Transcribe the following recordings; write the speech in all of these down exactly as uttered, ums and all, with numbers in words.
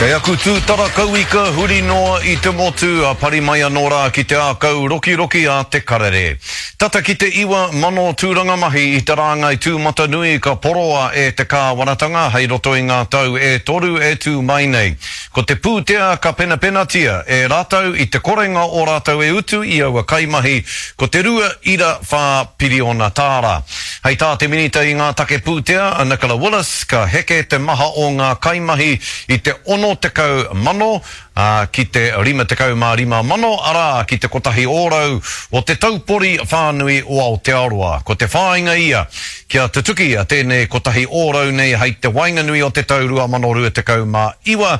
Kei aku tūtara kauika huri noa i te motu a pari mai anō rā ki te ākau rokiroki a te karere. Tata ki te iwa mano tūranga mahi i te rāngai tūmatanui ka poroa e te kāwanatanga hei roto i ngā tau e toru e tū mai nei. Ko te pūtea ka penapenatia e rātou i te korenga o rātou e utu i aua kaimahi ko te rua ira whā piriona tāra. Hei tā te minita i ngā take pūtea a Nicola Willis ka heke te maha o ngā kaimahi i te ono tekau mano uh, ki te rima tekau mā rima mano, arā ki te kotahi ōrau o te taupori whānui o Aotearoa. Ko te whāinga ia kia tutuki a tēnei kotahi ōrau nei hei te waenganui o te tau rua mano rua tekau mā iwa,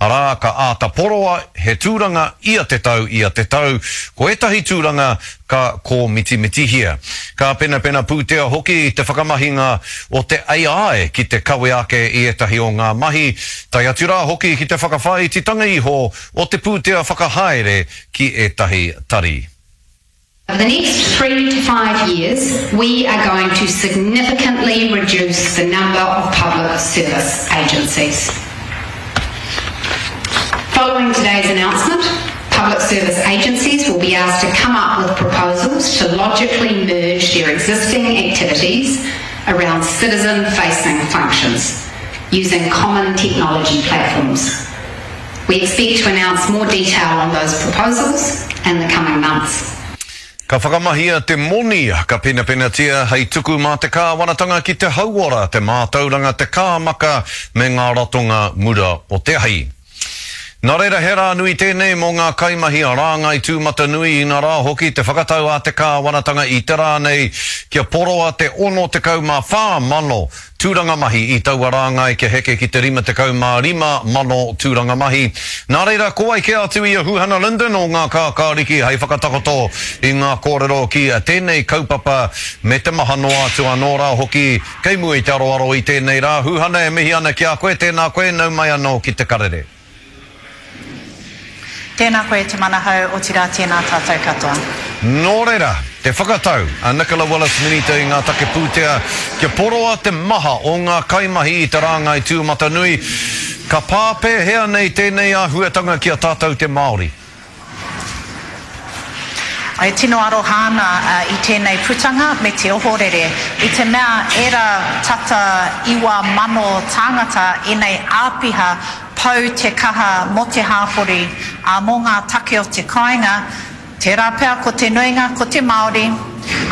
arā ka āta poroa he tūranga ia te tau ia te tau, ko ētahi tūranga ka kōmitimitihia. Ka penapena pūtea hoki te whakamahinga o te A I ki te kawe ake i ētahi o ngā mahi, tae atu rā hoki ki te whakawhāititanga iho o te pūtea whakahaere ki ētahi tari. Over the next three to five years, we are going to significantly reduce the number of public service agencies. Following today's announcement, public service agencies will be asked to come up with proposals to logically merge their existing activities around citizen-facing functions using common technology platforms. We expect to announce more detail on those proposals in the coming months. Ka whakamahia te moni ka penapenatia hei tuku mā te kāwanatanga ki te hauora, te mātauranga, te kāmaka me ngā ratonga mura o te ahi. Nā reira he rā nui tēnei mō ngā kaimahi a rāngai tūmatanui inā rā hoki te whakatau a te kāwanatanga i te rā nei kia poroa te ono tekau mā whā mano tūranga mahi i taua rāngai kia heke ki te rima tekau mā rima mano tūranga mahi. Nā reira, ko wai kē atu i a Huhana Lyndon o ngā kākāriki hei whakatakoto i ngā kōrero ki tēnei kaupapa me te maha noa atu anō rā hoki kei mua i te aroaro i tēnei rā. Huhana, e mihi ana ki a koe, tēnā koe, nau mai anō ki te karere. Tēnā koe te manahau, otirā tēnā tātou katoa. Nō reira, te whakatau a Nicola Willis Minita i ngā take pūtea kia poroa te maha o ngā kaimahi i te rāngai tūmatanui. Ka pā pēhea nei tēnei āhuatanga ki a tātou te Māori? Ai tino aroha ana uh, i tēnei putanga me te ohorere. I te mea era tata iwa mano tāngata enei āpiha pau te kaha mō te hāpori, a mō ngā take o te kāinga, tērā pea ko te nuinga, ko te Māori.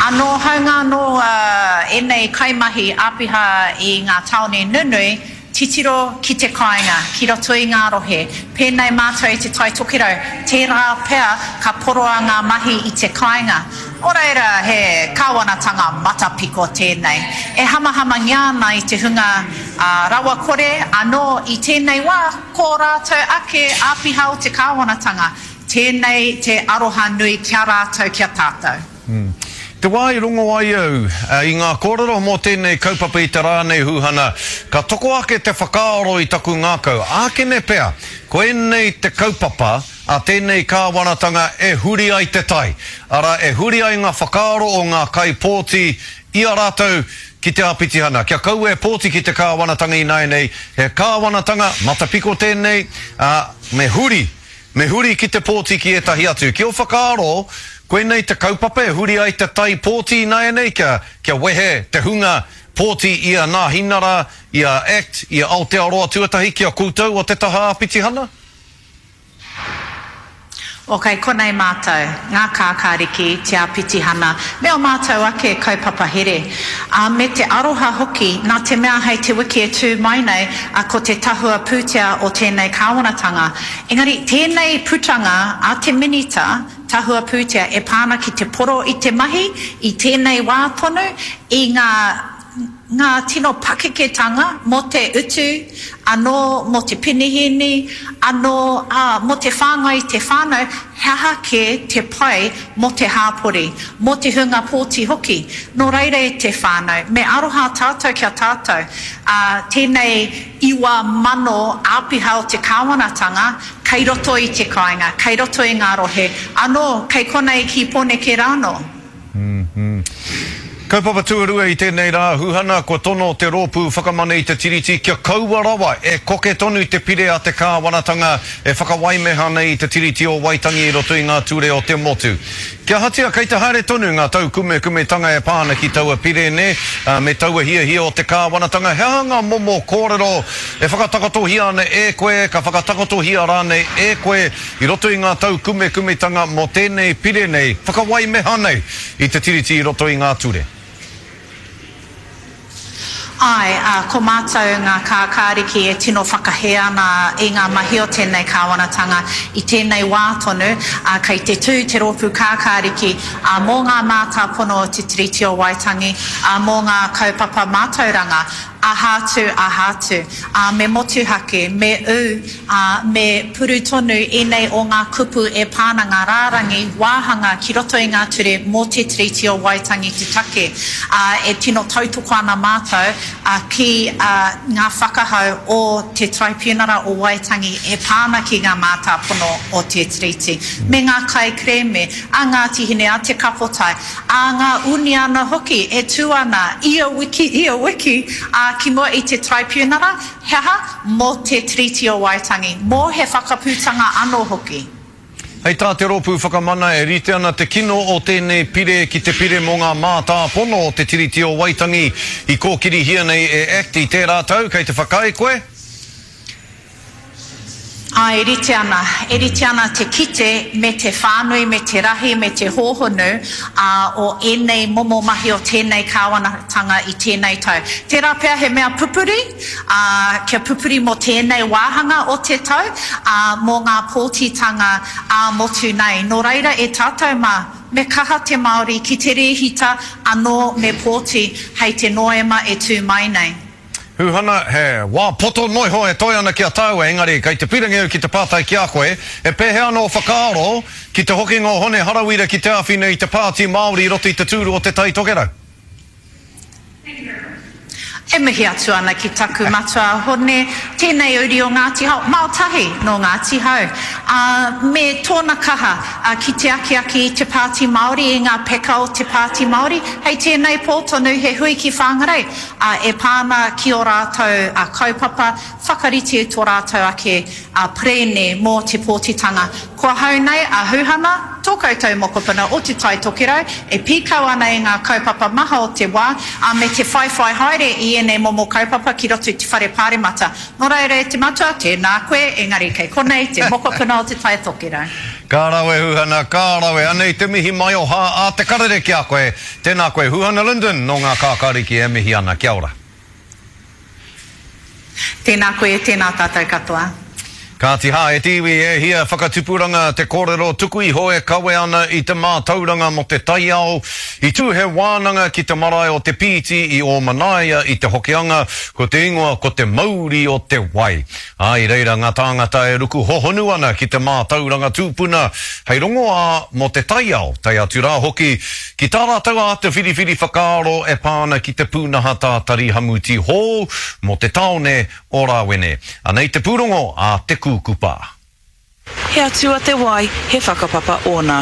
Anō haunga anō uh, enei kaimahi āpiha i ngā tāone nunui, titiro ki te kāinga, ki roto i ngā rohe. Pēnei mātou i te Tai Tokerau, tērā pea ka poroa ngā mahi i te kāinga. O reira, he kāwanatanga matapiko tēnei. E hamahamangia ana i te hunga uh, rawakore anō i tēnei wā, ko rātou ake āpiha o te kāwanatanga. Tēnei te aroha nui kia rātou, kia tātou. Hmm. Te wā i rongo ai au i ngā kōrero mō tēnei kaupapa i te rā nei Huhana, ka toko ake te whakaaro i taku ngākau. Ākene pea, ko ēnei te kaupapa a tēnei kāwanatanga e huri ai te tai. Ara, e huri ai ngā whakaaro o ngā kaipōti i a rātou ki te āpitihana. Kia kaua e pōti ki te kāwanatanga ināianei, he kāwanatanga matapiko tēnei, uh, me huri, me huri ki te pōti ki ētahi atu. Ki o whakaaro, koinei te kaupapa e huri ai te tai pōti ināianei, kia, kia wehe te hunga pōti i a Nāhinara, i a ACT, i a Aotearoa tuatahi ki a koutou o te taha āpitihana? O kei konei mātou, ngā kākāriki, te āpitihana, me o mātou ake kaupapa here. Uh, me te aroha hoki, nā te mea hei te wiki e tū mai nei, uh, ko te tahua pūtea o tēnei kāwanatanga. Engari, tēnei putanga a te minita, tahua pūtea e pāna ki te poro i te mahi, i tēnei wā tonu, i ngā ngā tino pakeketanga mō te utu, anō mō te penihini, anō uh, mō te whāngai i te whānau, he aha kē te pai mō te hāpori, mō te hunga pōti hoki. Nō reira e te whānau, me aroha tātou kia tātou. Uh, tēnei iwa mano āpiha o te kāwanatanga, kei roto i te kāinga, kei roto i ngā rohe, anō, kei konei ki Pōneke rānō. Mm-hmm. Kaupapa tuarua i tēnei rā, Huhana, kua tono te rōpū Whakamana i te Tiriti kia kaua rawa e koke tonu te pire a te kāwanatanga e whakawaimeha nei i te Tiriti o Waitangi i roto i ngā ture o te motu. Kia ahatia kei te haere tonu ngā taukumekumetanga e pā ana ki taua pire nē, me taua hiahia o te kāwanatanga, he aha ngā momo kōrero e whakatakotohia ana e koe, ka whakatakotohia rānei e koe i roto i ngā taukumekumetanga mō tēnei pire nei, whakawaimeha nei i te Tiriti i roto i ngā ture? Āe, ā, ko mātou ngā kākāriki e tino whakahē ana i ngā mahi o tēnei kāwanatanga i tēnei wā tonu, ā, kei te tū te rōpū kākāriki, ā, mō ngā mātāpono o Te Tiriti o Waitangi, ā, mō ngā kaupapa mātauranga, aha atu, aha atu, ā, me motuhake, me ū, ā, me puru tonu ēnei o ngā kupu e pā ana ngā rārangi wāhanga ki roto i ngā ture mō Te Tiriti o Waitangi te take, ā, e tino tautoko ana mātou, ā, ki ngā whakahau o te Taraipiunara o Waitangi e pā ana ki ngā mātāpono o te Tiriti, me ngā kaikerēme a Ngāti Hine, a Te Kapotai, a ngā uniana hoki e tū ana ia wiki, ia wiki, ā, ki mua i te Taraipiunara, he aha? Mō te Tiriti o Waitangi, mō he whakaputanga anō hoki. Hei tā te Rōpū Whakamana e rite ana te kino o tēnei pire ki te pire mō ngā mātāpono o te Tiriti o Waitangi i kōkirihia nei e Act i tērā tau, kei te whakaae koe? Āe, e rite ana. E rite ana te kite me te whānui, me te rahi, me te hōhonu o ēnei momo mahi o tēnei kāwanatanga i tēnei tau. Tērā pea he mea pupuri, ā, kia pupuri mō tēnei wāhanga o te tau, ā, mō ngā pōtitanga ā-motu nei. Nō reira e tātou mā, me kaha te Māori ki te rēhita anō me pōti hei te Noema e tū mai nei. Huhana, he wā poto noa iho e toe ana ki a tāua, engari kei te pīrangi au ki te pātai ki a koe, e pēhea ana ō whakaaro ki te hokinga o Hone Harawira ki te āwhina i te Pāti Māori i roto i te tūru o Te Tai Tokerau? E mihi atu ana ki taku matua a Hone, tēnei uri o Ngāti Hao, mao tahi nō Ngāti Hau, ā, me tōna kaha ki te akiaki i te Pāti Māori, i ngā peka o te Pāti Māori. Hei tēnei pō tonu he hui ki Whangarei, ā, e pā ana ki ō rātou kaupapa, whakarite tō rātou ake perēne mō te pōtitanga. Ko ahau nei a Huhana, tō koutou mokopuna o Te Tai Tokerau, e pīkau ana i ngā kaupapa maha o te wā, ā, me te whaiwhai haere i ēnei momo kaupapa ki roto i te Whare Pāremata. Nō reira e te matua, tēnā koe, engari kei konei te mokopuna o Te Tai Tokerau. Ka rawe Huhana, ka rawe. Anei te mihi maioha a Te Karere ki a koe. Tēnā koe Huhana Lyndon, nō ngā kākāriki e mihi ana. Kia ora. Tēnā koe, tēnā tātou katoa. Kāti hā, e te iwi, e hia whakatupuranga te kōrero tuku iho e kawe ana i te mātauranga mō te taiao. I tū he wānanga ki te marae o Te Pīti i Ōmanaia i te Hokianga, ko te ingoa ko Te Mauri o te Wai. Ā, i reira ngā tāngata e ruku hohonu ana ki te mātauranga tūpuna hei rongoā mō te taiao, tae atu rā hoki ki tā rātou āta whiriwhiri whakaaro e pā ana ki te pūnaha tātari hamuti hou mō te tāone o Rāwene. Anei te pūrongo a Te Kūkupa. He atua te wai, he whakapapa ōna.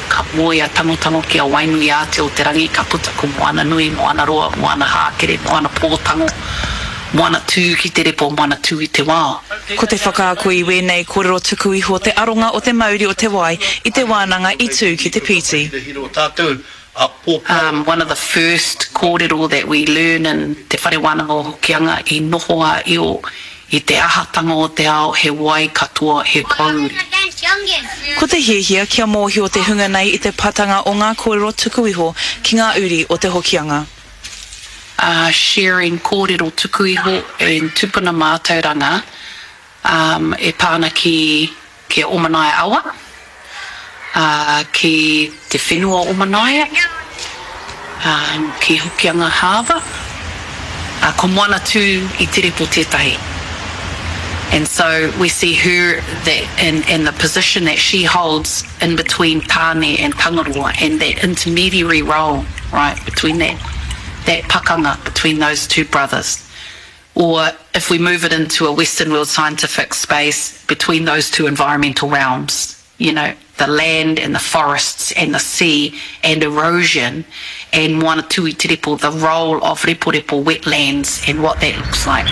Ka moe a Tangotango ki a Wainuiātea-o-te-rangi, ka puta ko Moananui, Moanaroa, Moanahākere, Moanapōtango, Moanatū ki te repo, Moanatū i te wao. Ko te whakaako i wēnei kōrero tuku iho te aronga o te mauri o te wai i te wānanga i tū ki Te Pīti. Um, one of the first kōrero that we learn in Te Whare Wānanga o Hokianga i noho a Io i te ahatanga o te ao, he wai katoa, he pōuri. Ko te hiahia kia mōhio te hunga nei i te patanga o ngā kōrero tuku iho ki ngā uri o Te Hokianga. Uh, sharing kōrero tuku iho and tupuna mātauranga um, e pā ana ki, ki a Omanaia awa, ā, ki te whenua o Manaia, ā, ki Hokianga Harbour, ā, ko Moana Tū i Te Repo tētahi. And so we see her that and, and the position that she holds in between Tāne and Tangaroa and that intermediary role, right, between that, that pakanga between those two brothers. Or if we move it into a Western world scientific space, between those two environmental realms, you know, the land and the forests and the sea and erosion and Moana Tui Te Repo, the role of Reporepo wetlands and what that looks like.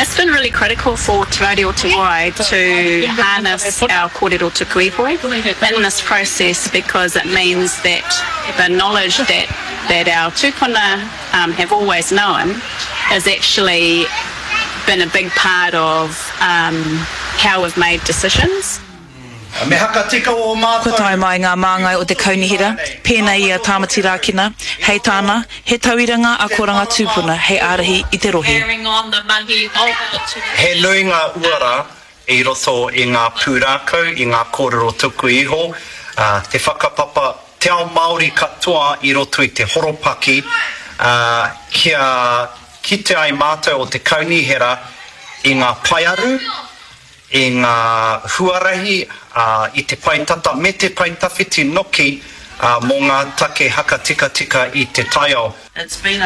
It's been really critical for Te Mauri o Te Wai to harness our kōrero tuku iho in this process, because it means that the knowledge that, that our tūpuna um, have always known has actually been a big part of um, how we've made decisions. Me hakatika o mātou. Kua tae mai ngā māngai o te kaunihera, pēnei i a Tāmati Rākena, hei tāna, he tauira ngā akoranga tūpuna hei ārahi i te rohe. He nui ngā uara i roto i ngā pūrākau, i ngā kōrero tuku iho, te whakapapa, te ao Māori katoa i roto i te horopaki, kia kite ai mātou o te kaunihera i ngā paearu, i ngā huarahi, i te pae tata me te pae tawhiti noki mō ngā take hakatikatika i te taiao.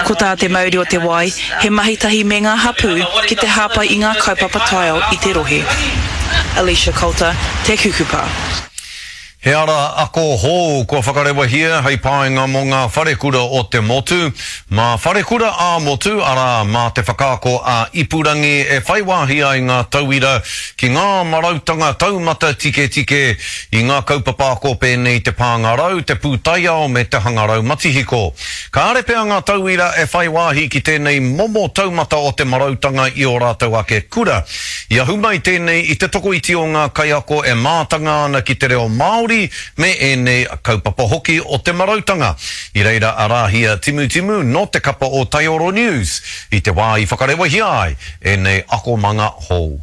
Ko tā Te Mauri o Te Wai, he mahi tahi me ngā hapū ki te hāpai i ngā kaupapa taiao i te rohe. Alicia Coulter, Te Kukupa. He ara ako hou kua whakarewahia hei painga mō ngā wharekura o te motu. Mā wharekura ā-motu, arā mā te whakaako a ipurangi e whai wāhi ai ngā tauira ki ngā marautanga taumata tiketike i ngā kaupapa ako pēnei te pāngarau, te pūtaiao me te hangarau matihiko. Kāre pea ngā tauira e whai wāhi ki tēnei momo taumata o te marautanga i o rātou ake kura. I ahu mai tēnei i te tokoiti o ngā kaiako e mātanga ana ki te reo Māori me ēnei kaupapa hoki o te marautanga. I reira a Rāhia Timutimu no te kapa o Taioro News i te wā i whakarewahia ai ēnei akomanga hou.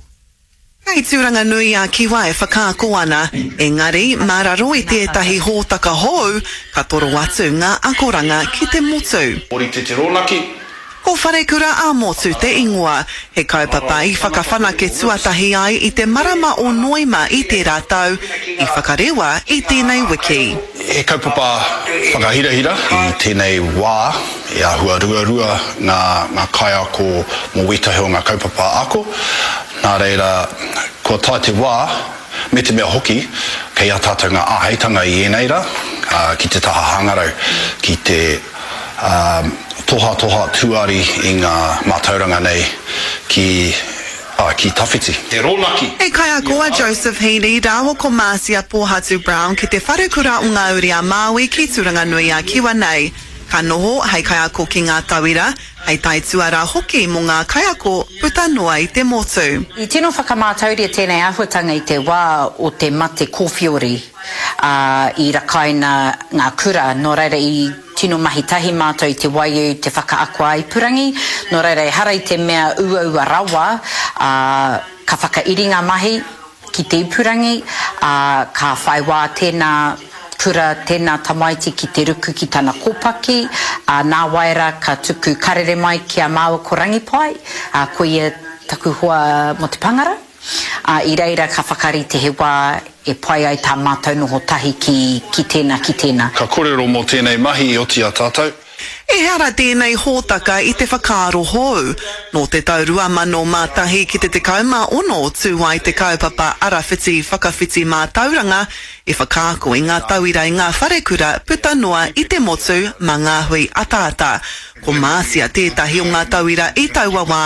Kei Tūranga nui a Kiwa e whakaako ana, engari mā raro i tētahi hōtaka hou, ka toro atu ngā akoranga ki te motu. Ori te te rōnaki. Ko Wharekura ā-motu te ingoa, he kaupapa i whakawhanake tuatahi ai i te marama o Noema i tērā tau, i whakarewa i tēnei wiki. He kaupapa whakahirahira i tēnei wā, e āhua ruarua ngā, ngā kaiako mō wētahi o ngā kaupapa ako. Nā reira, kua tae te wā, me te mea hoki, kei a tātou ngā āheitanga i ēnei rā, ki te taha hangarau, ki te um, toha toha tuari i ngā mātauranga nei ki, uh, ki tawhiti. Te rōnaki. He kaiako a Joseph Heaney rāua ko Marcia Pōhatu Brown ki te wharekura o ngā uri a Māui ki Tūranga nui a Kiwa nei. Ka noho hei kaiako ki ngā tauira, hei taituara hoki mō ngā kaiako puta noa i te motu. I tino whakamātauria tēnei āhuatanga i te wā o te mate kōwhiori uh, i rakaina ngā kura, nō reira i tino mahi tahi mātou i te waiu te whakaako a ipurangi, nō reira ehara i te mea uaua rawa, uh, ka whakairi ngā mahi ki te ipurangi, uh, ka whai wā tēnā kura, tēnā tamaiti ki te ruku ki tana kōpaki, uh, nā waira ka tuku karere mai ki a māua ko Rangipai, uh, ko ia taku hoa mō te pangara. Uh, i reira ka whakarite he wā e pai ai tā mātou noho tahi ki, ki tēnā, ki tēnā. Ka kōrero mō tēnei mahi i oti a tātou. Ehara tēnei hōtaka i te whakaaro hou. Nō te tau rua mano mā tahi ki te tekau mā ono tū ai te kaupapa arawhiti whakawhiti mātauranga e whakaako i ngā tauira i ngā wharekura puta noa i te motu mā ngā hui ataata. Ko Marcia tētahi o ngā tauira i taua wā,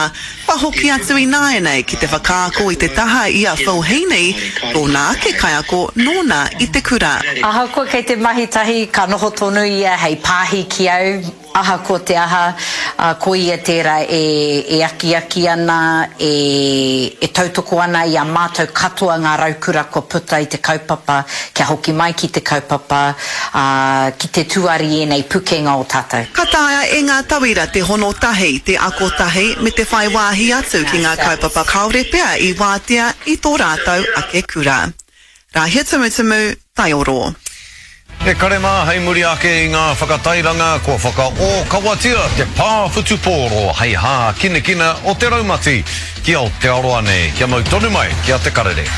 kua hoki atu i nāianei ki te whakaako i te taha i a Phil Heaney, tōna ake kaiako nōna i te kura. Ahakoa kei te mahi tahi, ka noho tonu ia hei pāhi ki au, ahakoa te aha, uh, ko ia tērā e, e akiaki ana, e, e tautoko ana i a mātou katoa ngā raukura kua puta i te kaupapa, kia hoki mai ki te kaupapa, uh, ki te tuari ēnei pukenga o tātou. Ka taea e ngā tauira te hono tahi, te ako tahi, me te whai wāhi atu ki ngā kaupapa kāore pea i wātea i tō rātou ake kura. Rāhia Tumutumu, Taioro. E kare mā hei muri ake i ngā whakatairanga kua whakaōkawatia te pā whutupōro hei hā kinakina o te raumati ki Aotearoa nei. Kia mau tonu mai ki a Te Karere.